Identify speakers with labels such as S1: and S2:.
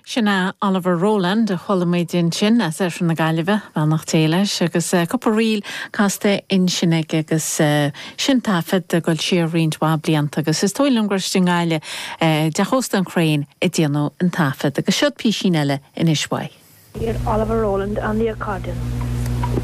S1: Sin é Oliver Rowland a chuala muid ansin as oirthear na Gaillimhe, beannacht Dé leis, agus cúpla ríl casta ansin aige agus sin taifead ag dul siar roinnt mhaith blianta agus is dóigh liom gur istigh i nGaillimh i dTeach Ósta an Crane a déanadh an taifead agus seod písín eile anois uaidh.
S2: Hear Oliver Rowland on the accordion.